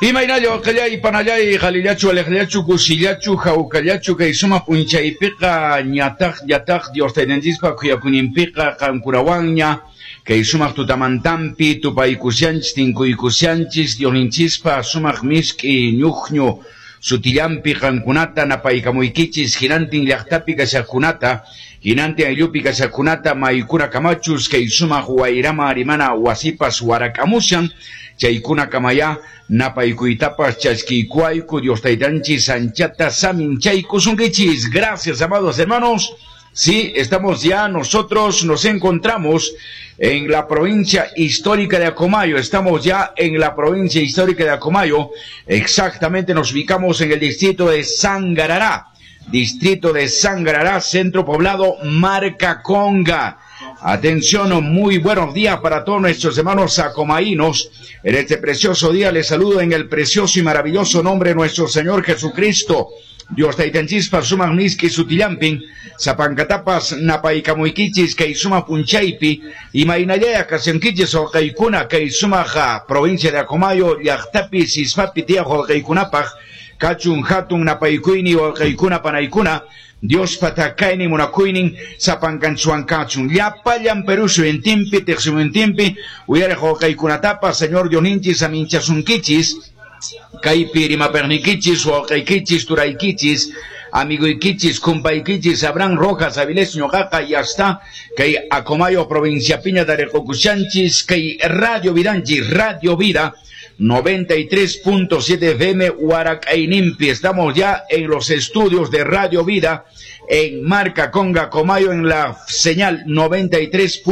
Imaynalla waqallay panallay qhalillachu aleqllachu kusillachu hawkallachu kay sumaq p'unchaypiqa ñataq ñataq Dios taytanchispa khuyakuyninpiqa qankunawanña kay sumaq tutamantampi tupaykushanchis tinkuykushanchis Diosninchispa sumaq misk'i ñuqñu sutillampi qankunata napaykamuykichis hinantin llaqtapi kashaqkunata hinantin ayllupi kashaqkunata maykuna kamachus kay sumaq wayrama rimana wasipas warak'amushan chaykuna kamaya napaykuytapas chaskiykuayku Dios taytanchis anchata saminchaykusunkichis. Gracias, amados hermanos. Sí, estamos ya, nosotros nos encontramos en la provincia histórica de Acomayo. Estamos ya en la provincia histórica de Acomayo. Exactamente nos ubicamos en el distrito de Sangarará. Distrito de Sangarará, centro poblado Marca Conga. Atención, muy buenos días para todos nuestros hermanos acomaínos. En este precioso día les saludo en el precioso y maravilloso nombre de nuestro Señor Jesucristo. Dios taytanchispa sumaq miski sutillampin, sapankatapas napaykamuykichis kay sumaq p'unchaypi, imaynallaya kashankichis wawqiykuna kay sumaq provincia de Acomayo llaqtapi sispapi tiyaq wawqiykunapaq kachun hatun napaykuyni wawqiykuna panaykuna Diospa takaynin munakuynin sapankanchuan kachun llapallan Perú suyuntinpi tiqsimuyuntinpi uyariq wawqiykunatapas Señor Diosninchis aminchasunkichis kaypi rimapaqniykichis wawqiykichis turaykichis amiguykichis kumpaykichis Abraham Rojas Avilés ñuqaqa ya está kay Acomayo provincia piña tariqukushanchis kay Radio Vidanchis Radio Vida 93.7 FM Huaracaynimpi. Estamos ya en los estudios de Radio Vida en Marca Conga Comayo en la señal 93.